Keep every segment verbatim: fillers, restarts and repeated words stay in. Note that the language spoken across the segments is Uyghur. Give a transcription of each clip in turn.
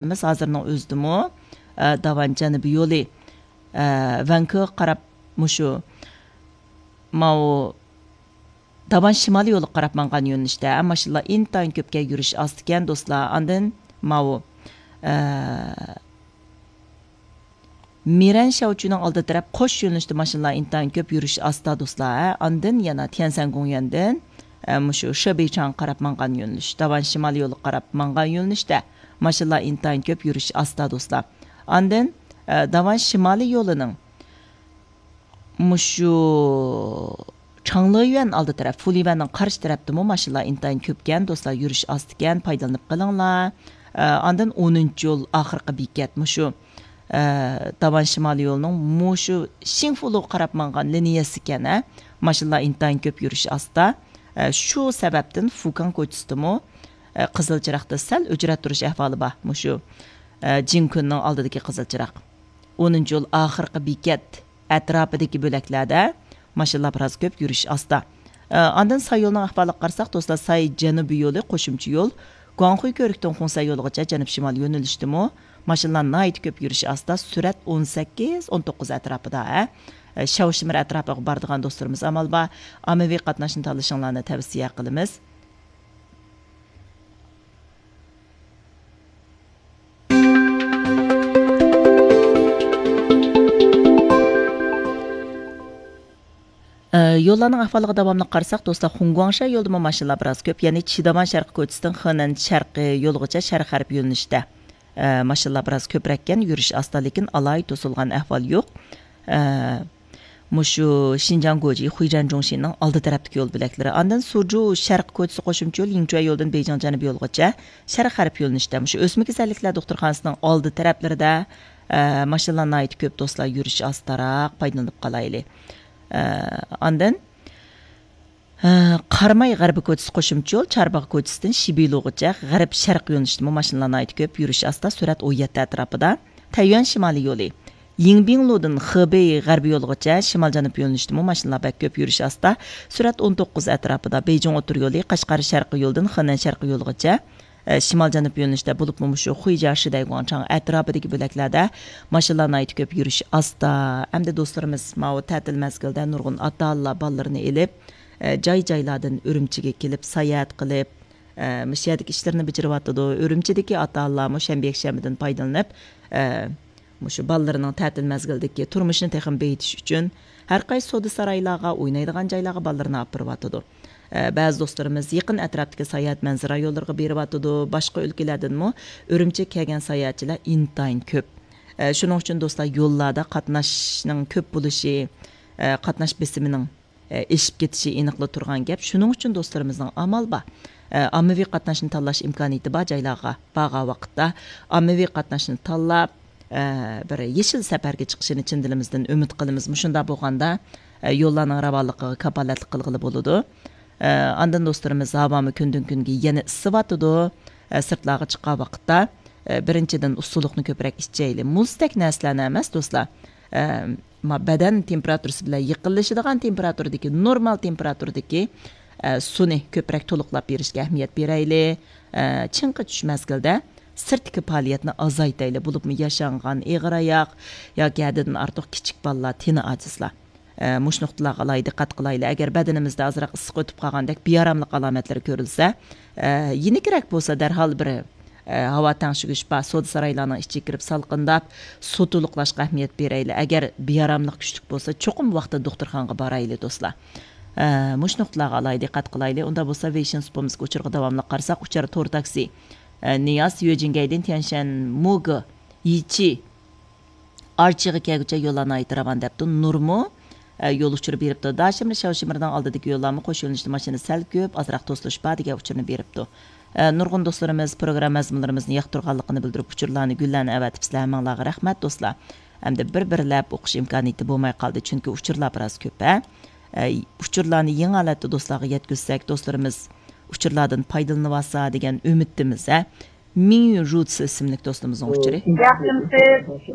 ئەمەس، ھازىرنىڭ ئۆزىدىمۇ، ئە، داۋان جەنۇبىي يولى، ئە، ۋەنكۇغا قاراپ مۇشۇ ماۋۇ داۋان شىمالىي يولىغا قاراپ ماڭغان يۆنىلىشتە ماشىنىلار ئىنتايىن كۆپكەن يۈرۈش ئاستىكەن، دوستلار. ئاندىن ماۋۇ، ئە، مىرەن شياۋچۈنىڭ ئالدى تەرەپ قوش يۆنىلىشتە ماشىنىلار ئىنتايىن كۆپ يۈرۈش ئاستا، دوستلار. ئاندىن يەنە تيەنسەن گوڭيۈەندىن، ئە، مۇشۇ شېبېيچاڭغا قاراپ ماڭغان يۆنىلىش، داۋان شىمالىي يولىغا قاراپ ماڭغان يۆنىلىشتە ماشىنىلار ئىنتايىن كۆپ يۈرۈش ئاستا، دوستلار. ئاندىن، ئە، داۋان شىمالىي يولىنىڭ مۇشۇ چاڭلىيۈەن ئالدى تەرەپ، فۇليۈەننىڭ قارشى تەرەپتىمۇ ماشىنىلار ئىنتايىن كۆپكەن، دوستلار، يۈرۈش ئاستىكەن، پايدىلىنىپ قېلىڭلار. ئە، ئاندىن ئونىنچى يول ئاخىرقى بېكەت مۇشۇ، ئە، داۋان شىمالىي يولىنىڭ مۇشۇ شىڭفۇلۇغا قاراپ ماڭغان لىنىيەسىكەن، ھە. ماشىنىلار ئىنتايىن كۆپ، يۈرۈش ئاستا. ئە، شۇ سەۋەبتىن فۇكاڭ كوچىسىدىمۇ، ئە، قىزىل چىراغدا سەل ئۆچرەت تۇرۇش ئەھۋالى بار. مۇشۇ، ئە، جىنكۈننىڭ ئالدىدىكى قىزىل چىراغ. ئونىنچى يول ئاخىرقى بېكەت ئەتراپىدىكى بۆلەكلەردە ماشىنىلار بىراز كۆپ، يۈرۈش ئاستا. ئە، ئاندىن ساييولنىڭ ئەھۋالىغا قارىساق، دوستلار، ساي جەنۇبىي يولى، قوشۇمچە يول، گۇاڭخۇي كۆۋرۈكتىن خۇڭسەن يولىغىچە جەنۇب شىمال يۆنىلىشتىمۇ ماشىنىلار ناھايىتى كۆپ، يۈرۈش ئاستا، سۈرئەت ئون سەككىز، ئون توققۇز ئەتراپىدا، ھە. ئە، شاۋشىمىر ئەتراپىغا بارىدىغان دوستلىرىمىز ئامال بار ئاممىۋى قاتناشنى تاللىشىڭلارنى تەۋسىيە قىلىمىز. ئە، يوللارنىڭ ئەھۋالىغا داۋاملىق قارىساق، دوستلار، خۇڭگۇاڭشا يولىدىمۇ ماشىنىلار بىراز كۆپ، يەنى چىداۋان شەرقىي كوچىسىدىن خېنەن شەرقىي يولىغىچە شەرق غەرب يۆنىلىشتە، ئە، ماشىنىلار بىراز كۆپرەككەن، يۈرۈش ئاستا، لېكىن ئالاھىدە توسۇلغان ئەھۋال يوق. ئە، مۇشۇ شىنجاڭ گوجى، خۇيجەن جۇڭشىنىڭ ئالدى تەرەپتىكى يول بۆلەكلىرى. ئاندىن سۇجۇ شەرقىي كوچىسى قوشۇمچە يول، يىڭچۈەن يولىدىن بېيجىڭ جەنۇبىي يولغىچە شەرق غەرب يۆنىلىشتە. مۇشۇ ئۆسمە كېسەللىكلەر دوختۇرخانىسىنىڭ ئالدى تەرەپلىرىدە، ئە، ماشىنىلار ناھايىتى كۆپ، دوستلار، يۈرۈش ئاستاراق، پايدىلىنىپ قالايلى. ئە، ئاندىن، ئە، قاراماي غەربىي كوچىسى قوشۇمچە يول، چارباغ كوچىسىدىن شىبىلۇغىچە غەرب شەرق يۆنىلىشتىمۇ ماشىنىلار ناھايىتى كۆپ، يۈرۈش ئاستا، سۈرئەت ئون يەتتە ئەتراپىدا. تەييۈەن شىمالىي يولى، يىڭبىڭلۇدىن خېبېي غەربىي يولىغىچە شىمال جەنۇب يۆنىلىشتىمۇ ماشىنىلار بەك كۆپ، يۈرۈش ئاستا، سۈرئەت ئون توققۇز ئەتراپىدا. بېيجىڭ ئوتتۇرا يولى، قەشقەر شەرقىي يولىدىن خېنەن شەرقىي يولىغىچە، ئە، شىمال جەنۇب يۆنىلىشتە، بولۇپمۇ مۇشۇ خۇيجيا شىدەيگۇاڭچاڭ ئەتراپىدىكى بۆلەكلەردە ماشىنىلار ناھايىتى كۆپ، يۈرۈش ئاستا. ئەمدى دوستلىرىمىز ماۋۇ تەتىل مەزگىلدە نۇرغۇن ئاتا-ئانىلار بالىلىرىنى ئېلىپ، ئە، جاي-جايلاردىن ئۈرۈمچىگە كېلىپ، ساياھەت قىلىپ، ئە، مۇشۇ يەردىكى ئىشلىرىنى بېجىرىۋاتىدۇ. ئۈرۈمچىدىكى ئاتا-ئانىلارمۇ شەنبە، يەكشەنبىدىن پايدىلىنىپ، ئە، مۇشۇ بالىلىرىنىڭ تەتىل مەزگىلىدىكى تۇرمۇشىنى تېخىمۇ بېيىتىش ئۈچۈن، ھەر قايسى سودا سارايلارغا، ئوينايدىغان جايلارغا بالىلىرىنى ئاپىرىۋاتىدۇ. ئە، بەزى دوستلىرىمىز يېقىن ئەتراپتىكى ساياھەت مەنزىرە رايونلىرىغا بېرىۋاتىدۇ. باشقا ئۆلكىلەردىنمۇ ئۈرۈمچىگە كەلگەن ساياھەتچىلەر ئىنتايىن كۆپ. ئە، شۇنىڭ ئۈچۈن دوستلار، يوللاردا قاتناشنىڭ كۆپ بولۇشى، ئە، قاتناش بېسىمىنىڭ، ئە، ئېشىپ كېتىشى ئېنىقلا تۇرغان گەپ. شۇنىڭ ئۈچۈن دوستلىرىمىزنىڭ ئامال بار، ئە، ئاممىۋى قاتناشنى تاللاش ئىمكانىيىتى بار جايلارغا بارغان ۋاقىتتا ئاممىۋى قاتناشنى تاللاپ، ئە، بىر يېشىل سەپەرگە چىقىشىنى چىن دىلىمىزدىن ئۈمىد قىلىمىز. مۇشۇنداق بولغاندا، ئە، يوللارنىڭ راۋانلىقىغا كاپالەتلىك قىلغىلى بولىدۇ. ئە، ئاندىن دوستلىرىمىز، ھاۋامۇ كۈندىن-كۈنگە يەنە ئىسسىۋاتىدۇ. ئە، سىرتلارغا چىققان ۋاقىتتا، ئە، بىرىنچىدىن، ئۇسسۇلۇقنى كۆپرەك ئىچەيلى. مۇزدەك نەرسىلەرنى ئەمەس، دوستلار. ئە، ما-، بەدەن تېمپېراتۇرىسى بىلەن يېقىنلىشىدىغان تېمپېراتۇرىدىكى، نورمال تېمپېراتۇرىدىكى، ئە، سۇنى كۆپرەك تولۇقلاپ بېرىشكە ئەھمىيەت بېرەيلى. ئە، چىڭقى چۈش مەزگىلدە سىرتتىكى پائالىيەتنى ئازايتايلى، بولۇپمۇ ياشانغان، ئېغىر ئاياق ياكى ھەددىدىن ئارتۇق كىچىك بالىلار، تېنى ئاجىزلار. ئە، مۇشۇ نۇقتىلارغا ئالاھىدە دىققەت قىلايلى. ئەگەر بەدىنىمىزدە ئازراق ئىسسىق ئۆتۈپ قالغاندەك بىئاراملىق ئالامەتلىرى كۆرۈلسە، ئە، يېنىكرەك بولسا دەرھال بىر، ئە، ھاۋا تەڭشىگۈچ بار سودا سارايلارنىڭ ئىچىگە كىرىپ سالقىنداپ، سۇ تولۇقلاشقا ئەھمىيەت بېرەيلى. ئەگەر بىئاراملىق كۈچلۈك بولسا، چوقۇم ۋاقتىدا دوختۇرخانىغا بارايلى، دوستلار. ئە، مۇشۇ نۇقتىلارغا ئالاھىدە دىققەت قىلايلى. ئۇنداق بولسا، ۋېيشىن سۇپىمىزدىكى ئۇچۇرغا داۋاملىق قارىساق، ئۇچار تور تاكسى، ئە، نىياس يۆجىنگەيدىن تيەنشەن موگې يىچى ئارچىغا كەلگۈچە يوللار ناھايىتى راۋان دەپتۇ. نۇرمۇ، ئە، يول ئۇچۇرى بېرىپتۇ. داشىمىر شاۋشىمىرنىڭ ئالدىدىكى يوللارمۇ قوش يۆنىلىشتە ماشىنا سەل كۆپ، ئازراق توسۇلۇش بار دېگەن ئۇچۇرنى بېرىپتۇ. ئە، نۇرغۇن دوستلىرىمىز پروگرامما مەزمۇنلىرىمىزنى ياقتۇرغانلىقىنى بىلدۈرۈپ، ئۇچۇرلارنى، گۈللەرنى ئەۋەتىپسىلەر. ھەممىڭلارغا رەھمەت، دوستلار. ئەمدى بىر-بىرلەپ ئوقۇش ئىمكانىيىتى بولماي قالدى، چۈنكى ئۇچۇرلار بىراز كۆپ، ھە؟ ئە، ئۇچۇرلارنى يېڭى ھالەتتە دوستلارغا يەتكۈزسەك، دوستلىرىمىز ئۇچۇرلاردىن پايدىلىنىۋالسا دېگەن ئۈمىدتىمىز، ھە؟ مىڭيۈ رۇتسى ئىسىملىك دوستىمىزنىڭ ئۇچۇرى. ياخشىمسىز؟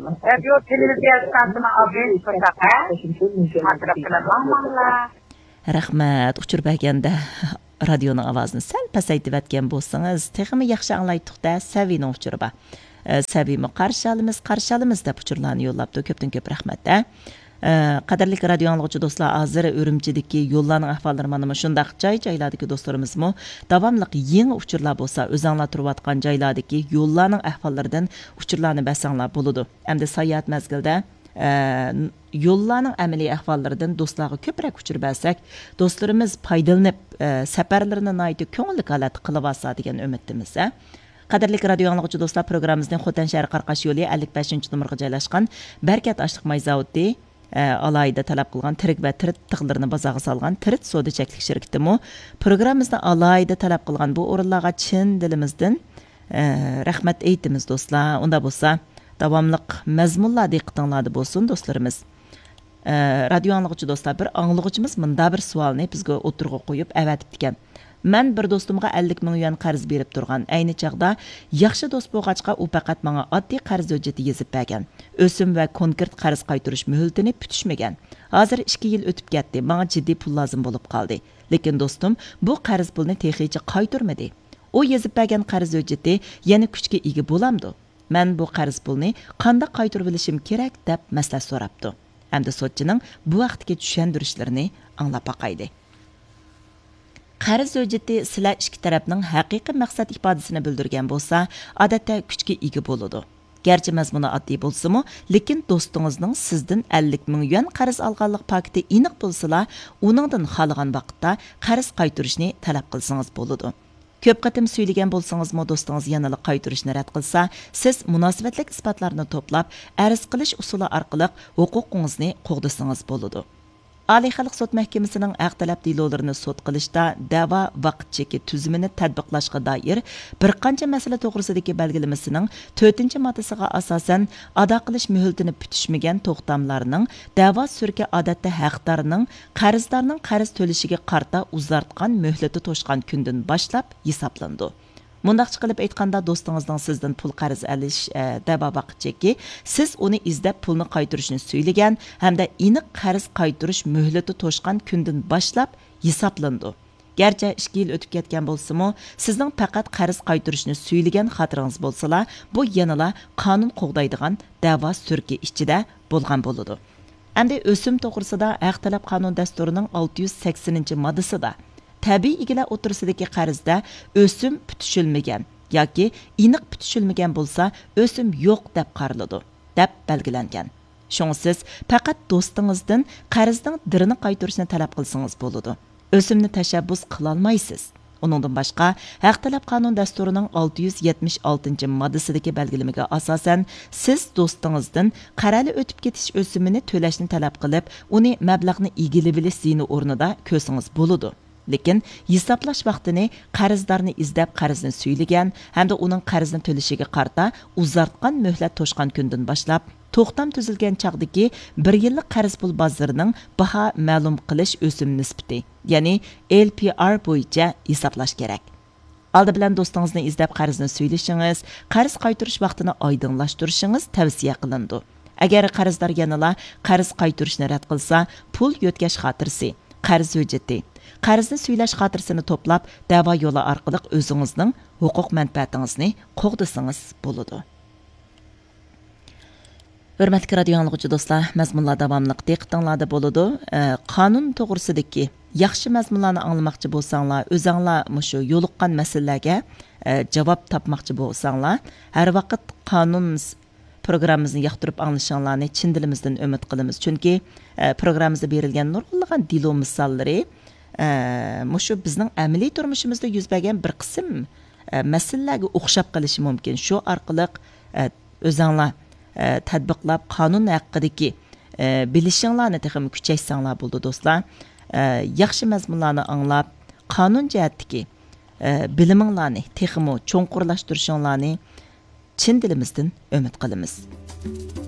رادىيو تېلېۋىزىيە ئىستانسىسىنىڭ ئابىنى شۇنداق، ھە؟ خاتىرە بىلەن ماڭماڭلار. رەھمەت، ئۇچۇر بەرگەندە رادىيونىڭ ئاۋازىنى سەل پەسەيتىۋەتكەن بولسىڭىز، تېخىمۇ ياخشى ئاڭلايتتۇق-دە، سەۋىنىڭ ئۇچۇرى بار. ئە، سەبىيمۇ قارشى ئالىمىز، قارشى ئالىمىز دەپ ئۇچۇرلارنى يوللاپتۇ. كۆپتىن كۆپ رەھمەت، ھە. ئە، قەدىرلىك رادىيو ئاڭلىغۇچى دوستلار، ھازىر ئۈرۈمچىدىكى يوللارنىڭ ئەھۋاللىرى مانا مۇشۇنداق. جاي-جايلاردىكى دوستلىرىمىزمۇ داۋاملىق يېڭى ئۇچۇرلار بولسا، ئۆزەڭلار تۇرۇۋاتقان جايلاردىكى يوللارنىڭ ئەھۋاللىرىدىن ئۇچۇرلارنى بەرسەڭلار بولىدۇ. ئەمدى ساياھەت مەزگىلىدە، ئە، يوللارنىڭ ئەمەلىي ئەھۋاللىرىدىن دوستلارغا كۆپرەك ئۇچۇر بەرسەك، دوستلىرىمىز پايدىلىنىپ، ئە، سەپەرلىرىنى ناھايىتى كۆڭۈللۈك ھالەتتە قىلىۋالسا دېگەن ئۈمىدتىمىز، ھە. قەدىرلىك رادىيو ئاڭلىغۇچى دوستلار، پروگراممىمىزنى خوتەن شەھىرى قاراقاش يولى ئەللىك بەشىنچى نومۇرغا جايلاشقان بەرىكەت ئاشلىق ماي زاۋۇتى، ئە، ئالاھىدە تەلەپ قىلغان تىرىك ۋە تىرىت تىغلىرىنى بازارغا سالغان تىرىت سودا چەكلىك شىركىتىمۇ پروگراممىمىزدا ئالاھىدە تەلەپ قىلغان بۇ ئورۇنلارغا چىن دىلىمىزدىن، ئە، رەھمەت ئېيتىمىز، دوستلار. ئۇنداق بولسا، داۋاملىق مەزمۇنلار دىققىتىڭلاردا بولسۇن، دوستلىرىمىز. ئە، رادىيو ئاڭلىغۇچى دوستلار، بىر ئاڭلىغۇچىمىز مۇنداق بىر سوئالنى بىزگە ئوتتۇرىغا قويۇپ ئەۋەتىپتىكەن. مەن بىر دوستۇمغا ئەللىك مىڭ يۈەن قەرز بېرىپ تۇرغان. ئەينى چاغدا ياخشى دوست بولغاچقا، ئۇ پەقەت ماڭا ئاددىي قەرز ھۆججىتى يېزىپ بەرگەن. ئۆسۈم ۋە كونكرېت قەرز قايتۇرۇش مۆھلىتىنى پۈتۈشمىگەن. ھازىر ئىككى يىل ئۆتۈپ كەتتى، ماڭا جىددىي پۇل لازىم بولۇپ قالدى. لېكىن دوستۇم بۇ قەرز پۇلنى تېخىچە قايتۇرمىدى. ئۇ يېزىپ بەرگەن قەرز ھۆججىتى يەنە كۈچكە ئىگە بولامدۇ؟ مەن بۇ قەرز پۇلنى قانداق قايتۇرۇۋېلىشىم كېرەك دەپ مەسلىھەت سوراپتۇ. ئەمدى سوتچىنىڭ بۇ ھەقتىكى چۈشەندۈرۈشلىرىنى ئاڭلاپ باقايلى. قەرز ھۆججىتى سىلەر ئىككى تەرەپنىڭ ھەقىقىي مەقسەت ئىپادىسىنى بىلدۈرگەن بولسا، ئادەتتە كۈچكە ئىگە بولىدۇ. گەرچە مەزمۇنى ئاددىي بولسىمۇ، لېكىن دوستىڭىزنىڭ سىزدىن ئەللىك مىڭ يۈەن قەرز ئالغانلىق پاكىتى ئېنىق بولسىلا، ئۇنىڭدىن خالىغان ۋاقىتتا قەرز قايتۇرۇشنى تەلەپ قىلسىڭىز بولىدۇ. كۆپ قېتىم سۈيلىگەن بولسىڭىزمۇ، دوستىڭىز يەنىلا قايتۇرۇشنى رەت قىلسا، سىز مۇناسىۋەتلىك ئىسپاتلارنى توپلاپ، ئەرز قىلىش ئۇسۇلى ئارقىلىق ھوقۇقىڭىزنى قوغدىسىڭىز بولىدۇ. ئالىي خەلق سوت مەھكىمىسىنىڭ ھەق تەلەپ دېلولىرىنى سوت قىلىشتا دەۋا ۋاقىت چېكى تۈزۈمىنى تەتبىقلاشقا دائىر بىر قانچە مەسىلە توغرىسىدىكى بەلگىلىمىسىنىڭ تۆتىنچى ماددىسىغا ئاساسەن، ئادا قىلىش مۆھلىتىنى پۈتۈشمىگەن توختاملارنىڭ دەۋا سۈركى ئادەتتە ھەقدارنىڭ قەرزدارنىڭ قەرز تۆلىشىگە قارىتا ئۇزارتقان مۆھلىتى توشقان كۈندىن باشلاپ ھېسابلىنىدۇ. مۇنداقچە قىلىپ ئېيتقاندا، دوستىڭىزنىڭ سىزدىن پۇل قەرز ئېلىش، ئە، دەۋا ۋاقىت چېكى، سىز ئۇنى ئىزدەپ پۇلنى قايتۇرۇشنى سۈيلىگەن ھەمدە ئېنىق قەرز قايتۇرۇش مۆھلىتى توشقان كۈندىن باشلاپ ھېسابلىنىدۇ. گەرچە ئىككى يىل ئۆتۈپ كەتكەن بولسىمۇ، سىزنىڭ پەقەت قەرز قايتۇرۇشنى سۈيلىگەن خاتىرىڭىز بولسىلا، بۇ يەنىلا قانۇن قوغدايدىغان دەۋا سۈركى ئىچىدە بولغان بولىدۇ. ئەمدى ئۆسۈم توغرىسىدا ھەق تەلەپ قانۇن دەستۇرىنىڭ ئالتە يۈز سەكسىنىنچى ماددىسىدا تەبىئىي ئىگىلەر ئوتتۇرىسىدىكى قەرزدە ئۆسۈم پۈتۈشۈلمىگەن ياكى ئېنىق پۈتۈشۈلمىگەن بولسا، ئۆسۈم يوق دەپ قارىلىدۇ، دەپ بەلگىلەنگەن. شۇڭا سىز پەقەت دوستىڭىزدىن قەرزنىڭ دىرىنى قايتۇرۇشنى تەلەپ قىلسىڭىز بولىدۇ. ئۆسۈمنى تەشەببۇس قىلالمايسىز. ئۇنىڭدىن باشقا، ھەق تەلەپ قانۇن دەستۇرىنىڭ ئالتە يۈز يەتمىش ئالتىنچى ماددىسىدىكى بەلگىلىمىگە ئاساسەن، سىز دوستىڭىزدىن قەرەلى ئۆتۈپ كېتىش ئۆسۈمىنى تۆلەشنى تەلەپ قىلىپ، ئۇنى مەبلەغنى ئىگىلىۋېلىش زىيىنى ئورنىدا كۆرسىڭىز بولىدۇ. لېكىن ھېسابلاش ۋاقتىنى قەرزدارنى ئىزدەپ قەرزنى سۈيلىگەن ھەمدە ئۇنىڭ قەرزنى تۆلىشىگە قارىتا ئۇزارتقان مۆھلەت توشقان كۈندىن باشلاپ، توختام تۈزۈلگەن چاغدىكى بىر يىللىق قەرز پۇل بازىرىنىڭ باھا مەلۇم قىلىش ئۆسۈم نىسبىتى، يەنى ئېل پى ئار بويىچە ھېسابلاش كېرەك. ئالدى بىلەن دوستىڭىزنى ئىزدەپ قەرزنى سۈيلىشىڭىز، قەرز قايتۇرۇش ۋاقتىنى ئايدىڭلاشتۇرۇشىڭىز تەۋسىيە قىلىنىدۇ. ئەگەر قەرزدار يەنىلا قەرز قايتۇرۇشنى رەت قىلسا، پۇل يۆتكەش خاتىرىسى، قەرز ھۆججىتى، قەرزنى سۈيلەش خاتىرىسىنى توپلاپ، دەۋا يولى ئارقىلىق ئۆزىڭىزنىڭ ھوقۇق مەنپەئەتىڭىزنى قوغدىسىڭىز بولىدۇ. ھۆرمەتلىك رادىيو ئاڭلىغۇچى دوستلار، مەزمۇنلار داۋاملىق دىققىتىڭلاردا بولىدۇ. ئە، قانۇن توغرىسىدىكى ياخشى مەزمۇنلارنى ئاڭلىماقچى بولساڭلار، ئۆزەڭلار مۇشۇ يولۇققان مەسىلىلەرگە، ئە، جاۋاب تاپماقچى بولساڭلار، ھەر ۋاقىت قانۇن س-، پروگراممىمىزنى ياقتۇرۇپ ئاڭلىشىڭلارنى چىن دىلىمىزدىن ئۈمىد قىلىمىز. چۈنكى، ئە، پروگراممىمىزدا بېرىلگەن نۇرغۇنلىغان دېلو مىساللىرى، ئە، مۇشۇ بىزنىڭ ئەمەلىي تۇرمۇشىمىزدا يۈز بەرگەن بىر قىسىم، ئە، مەسىلىلەرگە ئوخشاپ قېلىشى مۇمكىن. شۇ ئارقىلىق، ئە، ئۆزەڭلار، ئە، تەتبىقلاپ، قانۇن ھەققىدىكى، ئە، بىلىشىڭلارنى تېخىمۇ كۈچەيتسەڭلار بولىدۇ، دوستلار. ئە، ياخشى مەزمۇنلارنى ئاڭلاپ، قانۇن جەھەتتىكى، ئە، بىلىمىڭلارنى تېخىمۇ چوڭقۇرلاشتۇرۇشۇڭلارنى چىن دىلىمىزدىن ئۈمىد قىلىمىز.